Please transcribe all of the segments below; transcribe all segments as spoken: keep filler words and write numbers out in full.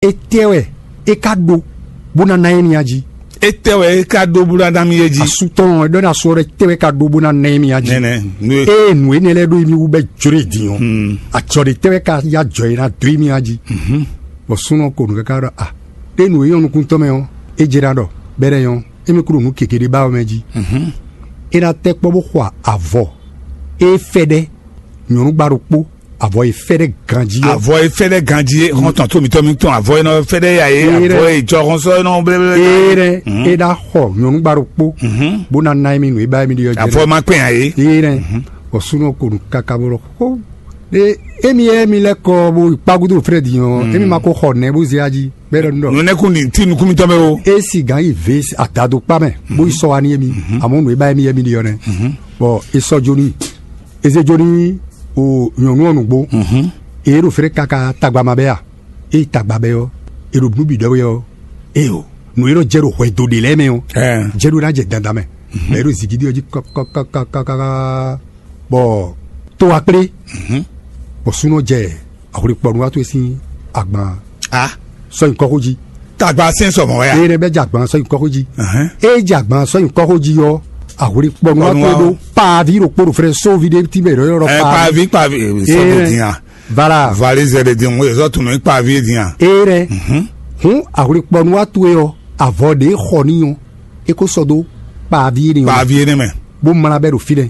Étɛ́ wɛ é ka ɖó bó ná ná émí a jí? Étɛ́ wɛ é ka ɖó bó ná ná mì é jí? Asu tɔn ɔ́, é ɖɔ ná asu ɔ́ ɖɔ étɛ́ wɛ é ka ɖó bó ná ná émí a jí? Nɛnɛ, nú é. Ée nǔ énɛ́ lɛ́ɛ ɖó émí wú bɛ́ jló e din ɔ́, ajɔ ɖé tɛ́ wɛ ka yá jɔ é ná dó émí a jí? Bɔ súnnu ɔ́ ko nǔ káká ɖɔ a, ɖé nǔ e nyɔ́ nukúntɔn mɛ ɔ́, é jɛ ná ɖɔ bɛ́ ɖɛ nyɔ́, émí kún ɖo nǔ gěgé ɖé ba ɔ́ mɛ jí. É ná tɛ́ kpɔ́ bó xɔ avɔ e fɛ́ɖɛ́ nyɔ̌nu gba ɖokpó, avɔ e fɛ́ɖɛ́ ganjí ɔ́. Avɔ e fɛ́ɖɛ́ ganjí é xɔ́ntɔn tó mitɔ́ mitɔn, avɔ e nɔ fɛ́ɖɛ́ ya é, avɔ e jɔhɔnsɔ e nɔ blɛ́blɛ́. Éɖɛ́ é ná xɔ nyɔ̌nu gba ɖokpó, bó ná ná émí nǔ e ba émí ɖe ɔ́ jɛ. Avɔ ma kpɛn ǎ é. Éɖɛ́ bɔ súnnu ko nǔ káká bó ɖɔ xó ɖé, émi e émi lɛ́ kɔ bó yi kpágúdó Frɛ́di ɔ́, émi ma ko xɔ nɛ̌ bó zé ají bɛ́ ɖɔ nú ɖɔ. Nǔnɛ́kún ní tí nukún mitɔn mɛ o. É si gǎn yi vě adadokpá mɛ bó yi sɔ́ wá ní émi, amɔ̌ nǔ e ba émi émi ɖe ɔ́ nɛ́. Bɔ é sɔ́ jó n'i. Eze jó ní o nyɔ̌nu ɔ́ nǔgbó. Ée ɖo fɛ́nɛ káká tagba ma bɛ́ a? Ée tagba bɛ́ ɔ́, è ɖo nǔ bǐ ɖɔ wɛ ɔ́, ée o, nǔ e nɔ jɛ ɖo hwɛdo ɖě lɛ́ɛ mɛ ɔ́, jɛ ɖó ná jɛ dandan mɛ. Bɔ é ɖo zǐgídí ɔ́ jí kákákákáká, bɔ tó wá kplé, bɔ súnɔ jɛ ahwlikpɔnúwatú e sín agban a sɔ́ nyǐkɔ́xó jí. Tagba sɛn sɔ mɔ̌ wɛ a? Ée nɛ́ bɛ́ jɛ agban sɔ́ nyǐkɔ́xó jí. Ée jɛ agban sɔ́ nyǐkɔ́xó jí ɔ́, ahwlikpɔnúwatú e ɖó paaví ɖokpó ɖo frɛ sóvi ɖé tí bɛ ɖɔ yɔ́ paaví. Paaví paaví sɔ́ ɖe dín a? Vala. Valizɛ ɖe din ŋun ezɔ tunu ikpavi din a? Ée ɖɛ. Hǔn ahwlikpɔnúwatú e ɔ́, avɔ ɖě xɔ n'i ɔ́, é ko sɔ́ dó kpaaví énɛ́ ɔ́, kpavi énɛ́ mɛ. Bó mlá bɛ́ ɖo fínɛ́.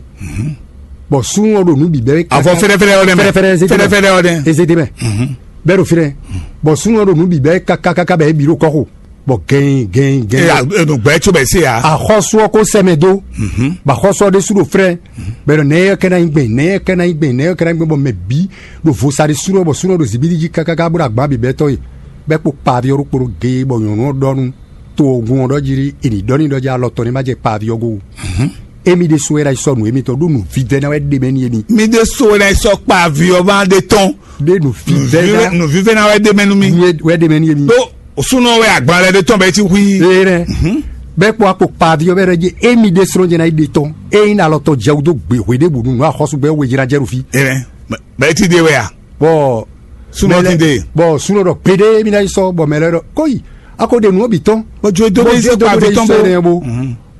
Bɔ súnnu ɔ́ ɖo nǔ bǐ bɛ́. Avɔ fɛ́rɛ́fɛ́rɛ́ ɔ́ nɛ́ mɛ. Fɛ́rɛ́fɛ́rɛ́ ezédé mɛ. Fɛ́rɛ́fɛ́rɛ́ ɔ́ nɛ́. Ezédé mɛ. Bɛ́ ɖo fínɛ́. Bɔ súnnu ɔ́ ɖo nǔ bǐ bɛ́ kákákáká bɛ́ é bǐ ɖo kɔ́xo. Bɔ gɛn gɛn gɛn. Enu gbɛ́ tso bɛ se a? Axɔ́sú ɔ́ ko sɛ mɛ dó. Bɔ axɔ́sú ɔ́ ɖésú ɖo frɛ́. Bɔ nɛ̌ ɔ́ kɛ ná nyí gbɛn, nɛ̌ ɔ́ kɛ ná nyí gbɛn, nɛ̌ ɔ́ kɛ ná nyí gbɛn, bɔ mɛ bǐ ɖo vo sa ɖésú ɖɔ, bɔ súnɔ ɖo zǐbílí jí kákáká bó ɖo agban bǐ bɛ́ tɔ́ e. Bɛ́ kpo kpaaví ɔ́ ɖokpó ɖó gee, bɔ nyɔ̌nu ɔ́ ɖɔ nú to ɔ́ gún ɔ́ ɖɔ jí ɖí è nǐ ɖɔ n'i ɖɔ jí alɔ tɔn ní ma jɛ kpaaví ɔ́ go. Émí ɖésú wɛ ná yi sɔ́ nǔ émítɔn ɖó nǔvívɛ́ná wɛ ɖe mɛ n'i émí. Mi ɖésú wɛ ná yi sɔ́ kpaaví ɔ́ ma ɖe tɔn. Ɖé nǔvívɛ́ná. Nǔvívɛ́ná wɛ ɖe mɛ nú mi. Wɛ ɖe mɛ n'i émí. Ɖó súnɔ wɛ agban lɛ ɖe tɔn bɛ ti hu i. Ee rɛ. Bɛ́ kpó akpo kpaaví ɔ́ bɛ ɖɔ jí émí ɖésú jɛ ná yi ɖe tɔn. Ényí alɔ tɔn jɛ wú dó gbe hwe ɖěbǔ nú nǔ axɔ́sú bɛ wejira jɛ ɖo fí. Ɛ bɛ ti de wɛ a? Bɔ Súnɔ ti de. Bɔ súnɔ ɖɔ gbeɖé mi ná yi sɔ bɔ mɛ lɛ ɖɔ kóyi, a ko ɖe nǔ ɔ́ bǐ tɔn. Bɔ jo e dó bɛ yi sɔ kpaaví tɔn bo.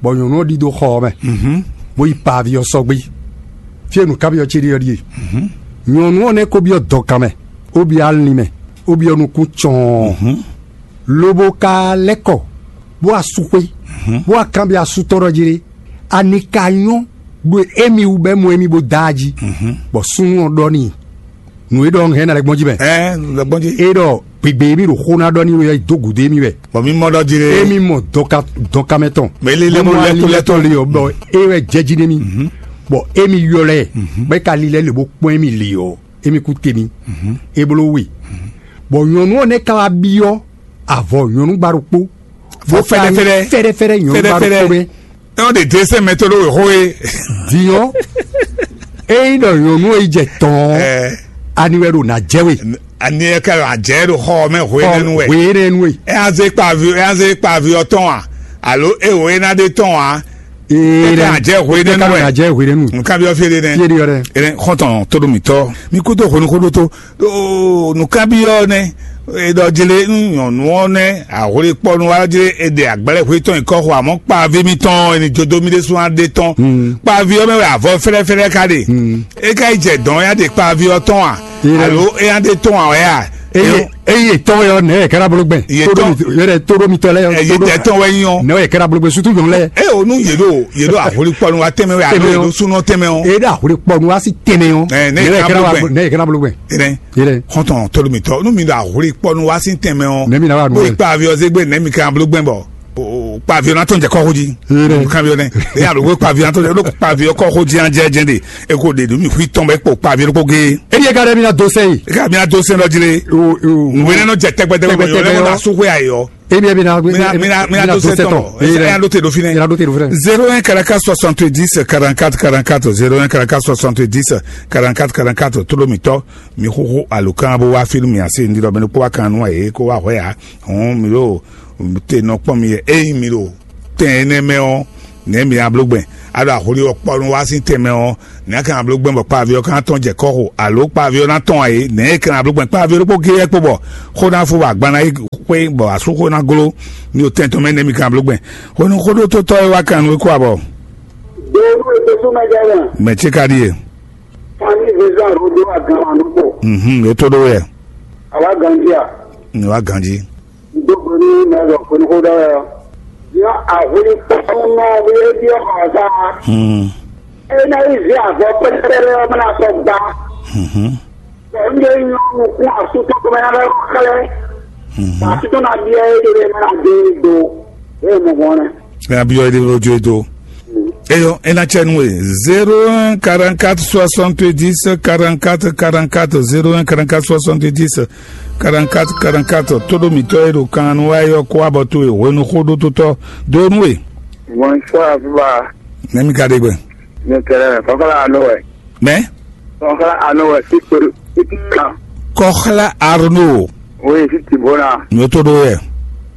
Bɔ nyɔ̌nu ɔ́ ɖidó xɔ ɔ́ mɛ, bó yi pa avi ɔ́ sɔgbe. Fí e nǔkanbyɔ́ ce ɖe ɔ́ ɖíe: nyɔ̌nu ɔ́ nɛ́ ko byɔ́ dɔ̌kan mɛ, bó byɔ́ alin mɛ, bó byɔ́ nukún cɔɔn, lobo ka lɛ́ kɔ, bó wá sú xwé, bó wá kanbyɔ́ asú tɔn ɖɔ jí ɖé: ani ka nyɔ́ ɖo émí wú bɔ é mɔ émí bó dá a jí? Bɔ súnnu ɔ́ ɖɔ n'i: nǔ e ɖɔ un hɛn ná lɛ́ gbɔn jí mɛ. Ɛ lɛ gbɔn jí. É ɖɔ gběgbé émí ɖo xó ná ɖɔ ní wɛ dó gǔdo émí wɛ. Bɔ mi mɔ ɖɔ jí lé. Émí mɔ dɔnka dɔnkamɛ tɔn. Mɛ lé lé mɔ lɛ́tɔ́ lɛ́tɔ́ lé ɔ́ bɔ é wɛ jɛ jí n'i mì. Bɔ émí ylɔ́ ɛ, bɔ é ka lílɛ́ lě bó kpɔ́n émí lě ɔ́, émí kú te mì. É bló we. Bɔ nyɔ̌nu ɔ́ nɛ́ ka wá byɔ́ avɔ nyɔ̌nu gba ɖokpó. Fɔ fɛ́ɖɛ́fɛ́ɖɛ́. Fɛ́ɖɛ́fɛ́ɖɛ́ nyɔ̌nu gba ɖokpó mɛ. Ɛ ɔ́ ɖe dlésɛn mɛ tó ɖó wěxó é. Diɔ, ényí ɖɔ nyɔ̌nu e yi jɛ tɔn ɔ́, ani wɛ ɖo nǎ jɛ we? Ani ɛ ka ɖo ajɛ ɖo xɔ ɔ́ mɛ hwenɛ́nu wɛ. Hwenɛ́nu we. Ɛ azé kpavi ɛ azé kpavi ɔ́ tɔn a? Alo e wò e ná ɖe tɔn a? Ee Ɛ ka ajɛ hwenɛ́nu wɛ. Ajɛ hwenɛ́nu. Nka bi ɔ́ fi ɖe nɛ. Fi ɖe yɔ dɛ. Ɛ xɔntɔn tóɖomitɔ mi kúdó hwenu xóɖó tó. Ɖo nǔkanbyɔ́ nɛ́, è ɖɔ jlé nú nyɔ̌nu ɔ́ nɛ́ ahwlikpɔnu wá jlé è ɖe agblɛ́ hwetɔn nyǐkɔ xo, amɔ̌ kpaví mitɔn è nǐ jó dó mì ɖésú ná ɖe tɔn. Kpaví ɔ́ mɛ wɛ avɔ fɛ́lɛ́fɛ́lɛ́ ka ɖe. É ka yi jɛ dɔ̌n ya ɖe kpaví ɔ́ tɔn a? Alo é ná ɖe tɔn a wɛ a? Eye eye tɔn yɔ nɛ yɛ kɛra bolo gbɛn. Yɛ tɔn yɛrɛ tóɖó mitɔ lɛ yɔ. Eye tɛ tɔn wɛ nyɔ. Nɛ yɛ kɛra bolo gbɛn sutu yɔn lɛ. E o nu yɛ ɖo yɛ ɖo ahwlikpɔnu wa tɛmɛ wɛ alo yɛ ɖo sunɔ tɛmɛ o. E ɖo ahwlikpɔnu wa si tɛmɛ o. Ɛ ne yɛ kɛra bolo gbɛn. Ne yɛ kɛra bolo gbɛn. Ere. Yɛrɛ. Xɔntɔn tolu mi tɔ nu mi ɖo ahwlikpɔnu wa si tɛmɛ o. Ne mi na wa nu. Bo ikpa aviɔ zegbe ne mi kɛra bolo gbɛn bɔ. Kpa aviɔ na tɔn jɛ kɔxo ji. Yɛrɛ. Kan aviɔ nɛ. E alo ko kpa aviɔ na tɔn jɛ ko kpa aviɔ kɔxo ji an jɛ jɛ de. E ko de du mi hui tɔn bɛ kpo kpa aviɔ ko ge. E yɛ ka dɛ mi na do sɛ yi. E ka mi na do sɛ lɔ ji le. O o. Nwe ne nɔ jɛ tɛgbɛtɛgbɛ yɔ ne ko na su hwe ayɔ. E bi e bi na mi na mi na mi na do sɛ tɔn. E ya do te do fi nɛ. E ya do te do fi nɛ. Zéro un caracas soixante-dix quarante-quatre quarante-quatre, zéro un caracas soixante-dix quarante-quatre quarante-quatre tolo mi tɔ. Mi xoxo alokan bo wa fi mi ase ndi lɔ bɛ ne ko wa kan nu aye ko wa hwɛ ya. Hɔn mi ɖo te nɔ kpɔn mi yɛ eyi mi ɖo tɛn ɛnɛ mɛ ɔ, nɛ mi ablo gbɛn. A ɖo ahwli ɔ́ kpɔ́ nú wá sín tɛnmɛ ɔ́, nɛ̌ a ka ná bló gbɛn bɔ kpávi ɔ́ ka ná tɔ́n jɛ kɔ́ xo, alo kpávi ɔ́ ná tɔ́n ǎ é? Nɛ̌ e ka ná bló gbɛn kpávi ɔ́ ɖokpó géé wɛ kpo bɔ xó ná fó bɔ agban ná yi xwé bɔ asúxó ná gló ní o tɛn tɔn mɛ nɛ́ mi ka ná bló gbɛn? Hwenu xóɖótótɔ́ e wá kan nú é kó abɔ. Donu e dosú mɛ jɛ mɛ. Mɛ ce ka ɖíe. Fani Vezan Rodo agan wa nukpɔ. Mhm, e to ɖó wɛ. Awa ganji a. Ní wá ganji. Dogoni mɛ lɔ kɔni xó ɖɔ yɔ. Yɔ ahwili kpɔnɔ wuli ebi ɔkɔ sa. Hmm. Ena yi zi avɔ pɛrɛpɛrɛ ɔmɛ na sɔ gba. Mhm. Bɛ n de nyɔ nukun asutɔ kɔmɛ na bɛ xlɛ. Mhm. Asutɔ na biɛ e de mɛ na de do. E mɔ gɔn nɛ. Ena biɔ e de o jo e do. Eyɔ, ena cɛ nue. Zéro un quarante-quatre soixante-dix quarante-quatre quarante-quatre, zéro un quarante-quatre soixante-dix quarante-quatre quarante-quatre. Todo mitɔ e ɖo kan nu wa yɔ kó abɔ to e hwenu xó ɖó totɔ do nu e. Bonsoir, Viva. Nɛmi ka ɖe gbɛ. Ne kɛlɛ, kɔkɔla ano wɛ. Mɛ? Kɔkɔla ano wɛ, si kpeɖo, si ti kan. Kɔxla Arno. Oui, si ti bona. Nyo to ɖo yɛ.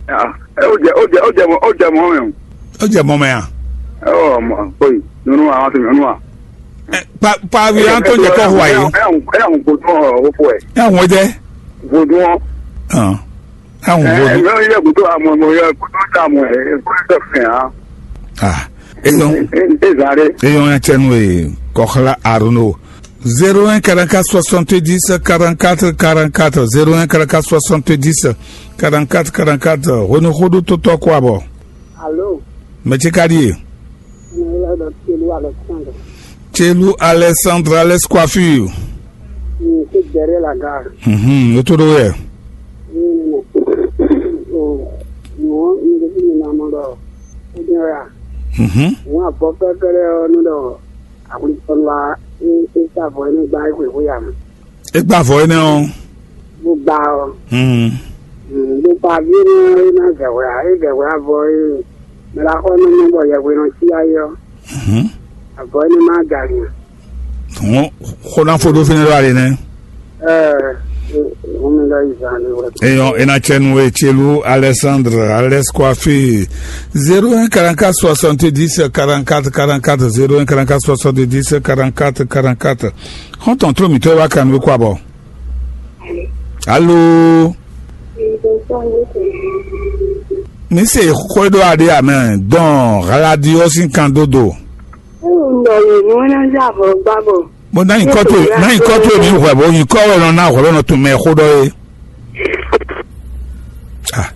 Ah, e o jɛ, o jɛ, o jɛ mɔ, o jɛ mɔ mɛ. O jɛ mɔ mɛ a? Ɔ, mɔ, oyi, nyɔnu a, wọn ti nyɔnu a. Ɛ, pa, pa wi an tó jɛ kɔ hwa yi. Ɛ, ɛ, ɛ, vodun ɔ, o fɔ ɛ. Ɛ, wọn jɛ. Vodun ɔ. Ɔn. Ɛ, vodun. Ɛ, ɛ, yɛ kutu amɔ, mɔ yɛ kutu ta mɔ, ɛ, kutu ta fɛn a. Ah, eyɔn. E, e, e zan ɖe. Eyɔn ya cɛ nu e, kɔxla Arno. Zéro un quarante-quatre soixante-dix quarante-quatre quarante-quatre, zéro un quarante-quatre soixante-dix quarante-quatre quarante-quatre. Hwenu xóɖó tó tɔ́ kó abɔ. Alo. Mɛ ce ka ɖíe? Nyɛ lɛ́ ɖɔ Celu Alexandre. Celu Alexandre, Alex Coiffure. Mm, c'est derrière la gare. Mhm, o to ɖo yɛ. Mm, o, nyɔ̌, nyɛ ɖe fi nyɛ ná mɔ ɖɔ, o jɛn wɛ a? Mhm. Nyɔ̌ abɔ fɛ́fɛ́ lɛ́ɛ ɔ́ nú ɖɔ, akwlitɔ́nu wá, é, é sa avɔ énɛ́ gba é xweyǐxwe ǎ mɛ. É gba avɔ énɛ́ ɔ́. Bó gba ɔ́. Hmm. Hmm, bó gba ví énɛ́ ɔ́, é ná zɛ hwɛ ǎ. É zɛ hwɛ avɔ é, mɛ ɖaxó ɔ́ nɔ mɔ bɔ yɛhwe nɔ cí ayé ɔ́. Mhm. Avɔ énɛ́ má ga nya. Hɔn, xó ná fó ɖó fínɛ́ ɖó ali nɛ́. Ɛɛ, hɔn mi ɖɔ yi zan ɖé wɛ. Eyɔn, ena cɛ nu e Celu Alexandre, Alex Coiffure, zéro un quarante-quatre soixante-dix quarante-quatre quarante-quatre, zéro un quarante-quatre soixante-dix quarante-quatre quarante-quatre. Xɔ́ntɔn tló mǐtɔn e wá kan nú kó abɔ. Alo. Mi se xwé ɖó aɖé amɛ dɔn hladi ɔ́ sín kan dó do. Bó ná nyí kɔ́ tó, ná nyí kɔ́ tó mi hwɛ bó nyí kɔ́ wɛ nɔ ná hwɛ bó nɔ tun mɛ xó ɖɔ é. Ah,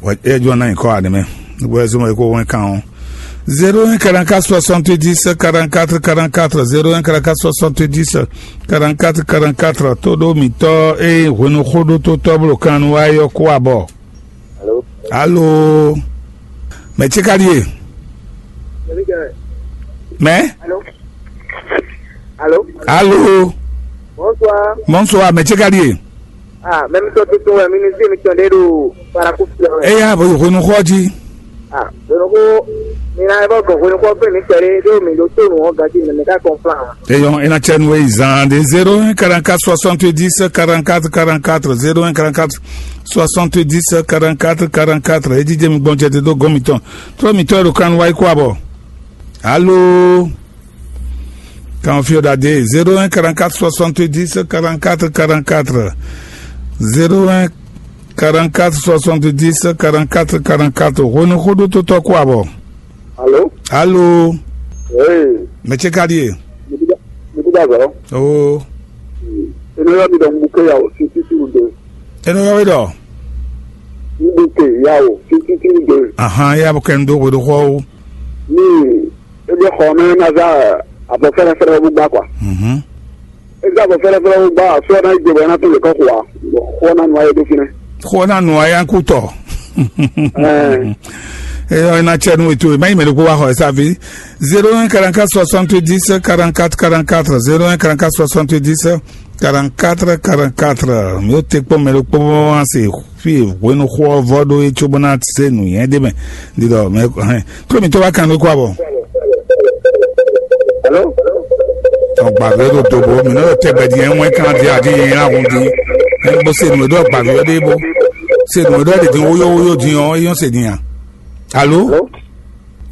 wɛ é jɔ ná nyí kɔ́ aɖe mɛ. Wɛ zɔn wɛ kó wɛn kan ɔ́. Zéro un quarante-quatre soixante-dix quarante-quatre quarante-quatre, zéro un quarante-quatre soixante-dix quarante-quatre quarante-quatre. Tó ɖó mǐtɔn e hwenu xó ɖó tó tɔ́ bló kan nu wá yɔ kó abɔ. Alo. Alo. Mɛ ce ka ɖíe? Mɛ? Alo. Alo. Alo. Bonsoir. Bonsoir, mɛ ce ka ɖíe? Ah, mɛ mi tɔ tuntun wɛ, mi ní sí mi tɔn ɖé ɖo Parakou fi wɛ. Eya bo yi hwenu xɔ jí. Ah, hwenu xɔ, mi ná bɔ gɔn hwenu xɔ fún mi tɛlɛ ɖó mi ɖo tó nu ɔ gaji mi mi ka kɔn plan. Eyɔn, ena cɛ nu e zan de zéro un quarante-quatre soixante-dix quarante-quatre quarante-quatre, zéro un quarante-quatre soixante-dix quarante-quatre quarante-quatre. E jijɛ mi gbɔn cɛ te dó gɔn mitɔn. Trɔ mitɔn e ɖo kan wá yi kó abɔ. Alo. Kan fio da de zéro un quarante-quatre soixante-dix quarante-quatre quarante-quatre. Zéro un quarante-quatre soixante-dix quarante-quatre quarante-quatre. Hwenu xóɖó tó tɔ́ kó abɔ. Alo. Alo. Ee. Mɛ ce ka ɖíe? Mi ti da zɔ. Oo. Eno yɔ mi ɖɔ mu ke ya o si ti ti de. Eno yɔ mi ɖɔ. Mu ke ya o si ti ti de. Ahan, ya bɔ kɛ n do hwe ɖo xɔ o. Ni ebi xɔ mɛ na za abɔ fɛrɛfɛrɛ bu gba kwa. Mhm. Eza bɔ fɛrɛfɛrɛ bu gba, so na igbe bɔ na to le kɔ kwa. Xɔ na nua ye do finɛ. Xɔ na nua ya ku tɔ. Ɛɛ. Eyɔ ina cɛ nu eto ma yi mɛ ko wa xɔ esa vi. Zéro un quarante-quatre soixante-dix quarante-quatre quarante-quatre, zéro un quarante-quatre soixante-dix quarante-quatre quarante-quatre. Mi o te kpɔ mɛ ɖokpó bɔ wa se fi hwenu xɔ vɔ ɖo ye tso bɔ na se nu yɛn de mɛ. Di dɔ mɛ hɛn. Ko mi to wa kan ko abɔ. Hello? Ɔgba vɛ ɖo dobo mi nɔ tɛ bɛ di ɛnwɛ kan di adi yi na hun di. Ɛn bo se nu ɖɔ gba vɛ ɖe bo. Se nu ɖɔ de di woyo woyo di ɔ eyɔn se di ya. Alo? Hello?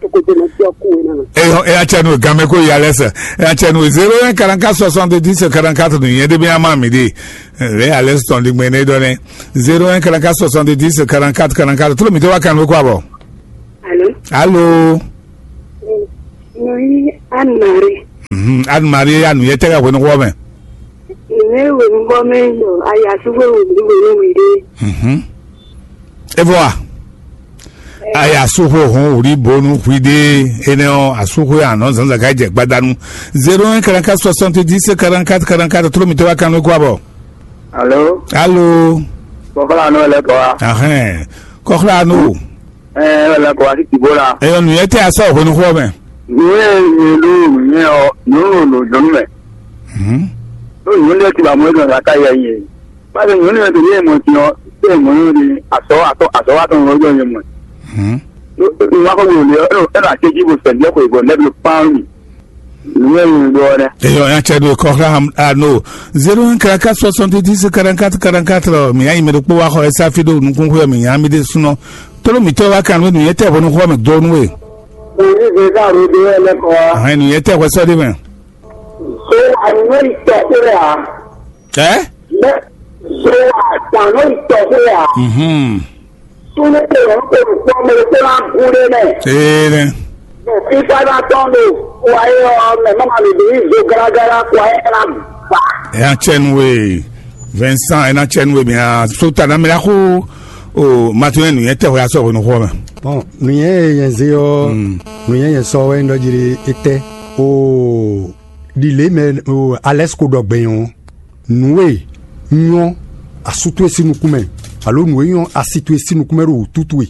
Tokoto na tɔ ku wena na. Eyɔ, eya cɛ nu game ko ya lɛsɛ. Eya cɛ nu zéro un quarante-quatre soixante-dix quarante-quatre nu yɛn de bi ama mi de. Re alɛs tɔn di gbɛn ne dɔ ne. Zéro un quarante-quatre soixante-dix quarante-quatre quarante-quatre. Tout le monde va kan ko abo. Allô? Allô? Noi Anne Marie. Mhm. Anne Marie ya nu yɛ tɛ ka wenu ko mɛ. Ne wenu ko mɛ do aya su ko wenu wenu wide. Mhm. E vɔ a? Aya su xo hɔn wuli bonu xwi ɖe. Enɛ ɔ, asu xo ya nɔ zanzan ka jɛ gbadanu. Zéro un quarante-quatre soixante-dix quarante-quatre quarante-quatre. Tout le monde va kan ko abo. Alo, Allô? Kɔkɔla nɔ lɛ kɔ wa. Ahɛn. Kɔkɔla no. Ɛ lɛ kɔ wa ti ti bo la. Eyɔ nu yɛ tɛ asɔ hwenu xɔ mɛ. Nue nue do nue ɔ nunu no jɔnu mɛ. Mhm. Do nue lɛ ti ba mo e dɔn ka yɛ yɛ. Ba de nue nue de ye mo ti ɔ, te mo nue de asɔ atɔ asɔ atɔ no jɔ ye mo. Mhm. Nwa ko mo le ɔ, e na te ji bo sɛ lɛ ko e bɔ lɛ bi pan mi. Nue nue do ɔ nɛ. Eyɔ ya cɛ do kɔkɔla ano. Zéro un quarante-quatre soixante-dix quarante-quatre quarante-quatre. Mi ya yi mɛ do kpo wa xɔ esa fi do nukun xɔ mi ya mi de sunɔ. Tolo mi tɔ wa kan nu yɛ tɛ hwenu xɔ mi do nu e. Òní zèzá ro de wɛ lɛ kɔ wa. Ahɛn nu yɛ tɛ hwɛ sɔ de mɛ. So àná ìtọ̀ pé à. Ɛ? Mɛ so àtàná ìtọ̀ pé à. Mhm. Súnú pé òun kò rò pé ọmọ epo náà gún lé mẹ́. Ee ne. Bɔn fífá ná tɔn ɖo wáyé ɔ mɛ mama mi ɖo yi zo garagara kó ayé ná gbà. Ɛ na tsɛ nu we. Vincent, ɛ na tsɛ nu we mi a so ta na mi la xo. O ma tún yɛ nu yɛ tɛ xɔ ya sɔ hwenu xɔ mɛ. Bɔn nuyɛ yɛn ze ɔ, nuyɛ yɛn sɔ wɛ ndɔ jiri etɛ o ɖile mɛ o alɛs ko ɖɔ gbɛn ɔ, nǔ e nyɔ́ asú towe sín nukún mɛ, alo nǔ e nyɔ́ asi towe sín nukún mɛ ɖo wǔtú towe,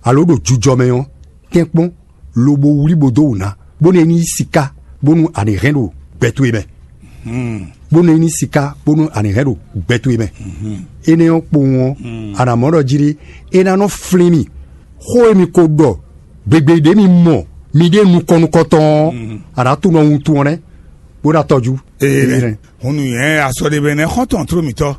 alo ɖo jujɔ mɛ ɔ́, tɛ́nkpɔ́n lobo wlí bó dó wǔ ná, bónú é ní nyí siká, bónú a nǐ hɛn ɖo gbɛ towe mɛ. Bónú é ní nyí siká, bónú a nǐ hɛn ɖo gbɛ towe mɛ. Énɛ́ ɔ́ kpowun ɔ́, a nǎ mɔ ɖɔ jí ɖé, é ná nɔ flín mì. Xó e mi ko ɖɔ gbegbe ɖě mi mɔ miɖée nukɔn nukɔntɔn ɔ́, a nǎ tunɔ wuntun ɔ́ nɛ́, bó ná tɔjú. Ee, hun nǔnywɛ́ asɔɖeɖenɛxɔ́ntɔn tló mǐtɔn,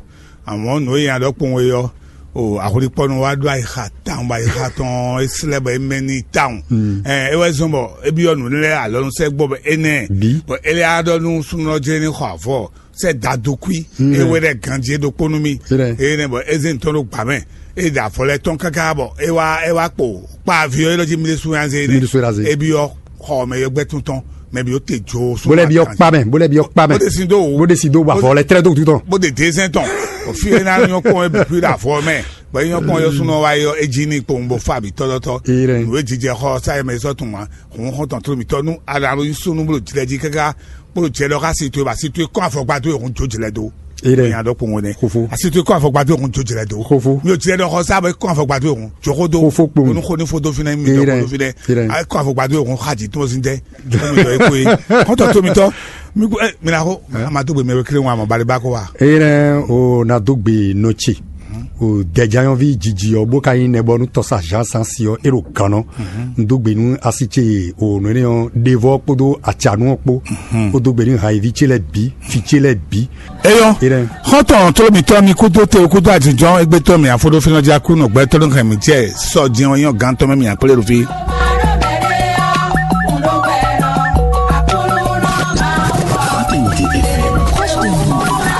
amɔ̌ nǔ e nya ɖɔ kpowun é ɔ́, o ahwlikpɔ́nɔ wa ɖó ayixa tawun bɔ ayixa tɔn é slɛ́ bɔ é mɛ n'i tawun. Ɛ é wɛ zɔ́n bɔ é byɔ́ nǔ lɛ́ɛ alɔnusɛgbɔ bɔ énɛ́, bɔ é lɛ́ á ɖɔ nú súnnu ɔ́ jlé ní xɔ avɔ sɛ dadokui, é wɛ ɖɛ ganjí é ɖokpó nú mì. Énɛ́ bɔ é zé ntɔ́ ɖo gbǎ mɛ, é ɖe avɔ lɛ́ɛ tɔn káká bɔ é wá é wá kpo kpa avi ɔ́ élɔ́ jí mì ɖésú nyi azé énɛ́. Mì ɖésú nyi azé. É byɔ́ xɔ mɛ yɔgbɛ́ tɔn tɔn, mɛ byɔ́ te jó. Bó lɛ́ byɔ́ kpa mɛ, bó lɛ́ byɔ́ kpa mɛ. Bó ɖe sin dó wò. Bó ɖe sin dó bɔ avɔ lɛ́ɛ tlɛ́ dó wútu tɔn. Bó ɖe dé zɛn tɔn. Fí é ná nyɔ́ kpɔ́n é bǐ ɖo avɔ mɛ. Bɔ é nyɔ́ kpɔ́n yɔ́ súnɔ wá yɔ é jí ní kpowun bó fá bǐ tɔ́tɔ́tɔ́. Nǔ e jijɛ xɔ sáyɛ mɛ sɔ́ tunwun ǎ. Hǔn xɔ́ntɔn tló mǐtɔn nú a ɖo alo nyí súnnu bó ɖo jlɛ jí káká bó ɖo jɛ ɖɔ xá si towe bɔ asi towe kɔn afɔkpa towe hun jó jlɛ dó. Nya ɖɔ kpowun nɛ. Xofo. Asi towe kɔn afɔkpa towe hun jó jlɛ dó. Xofo. Mi ò jlɛ ɖɔ xɔ sá bɔ é kɔn afɔkpa towe hun jó xó dó. Xofo kpowun. Onú xó ní fó dó fínɛ́ mi ɖɔ xó dó fínɛ́. Ɛ kɔn afɔkpa towe hun xá jǐ tɔn sín tɛ́. Mí ɖɔ é kó é. Xɔ́ntɔn tló mǐtɔn. Mi kú ɛ mi na xó. Ma dó gbe mɛ wekle ŋu amɔ bali ba kó wa. Eye nɛ o na dó gbe nɔ ce. O dɛjanyɔvi jiji ɔ bó ka nyí nɛ bɔ nú tɔsa Jean Sansi ɔ é ɖo gannɔ. Un dó gbe nú asi ce o nɔ énɛ́ ɔ ɖevɔ kpódó atsanu ɔ kpó. Ó dó gbe nú hayiví ce lɛ bǐ, fi ce lɛ bǐ. Eyɔ. Eye nɛ. Xɔ́ntɔn tló mǐtɔn mi kúdó te kúdó àjínjɔ́n égbé tɔn mi àfo ɖó fínɔ́ jí akú nɔ gbɛtɔ́ ló hɛn mǐ jɛ sɔ jɛun nyɔ gán tɔn mɛ mi àkplé ɖo fí.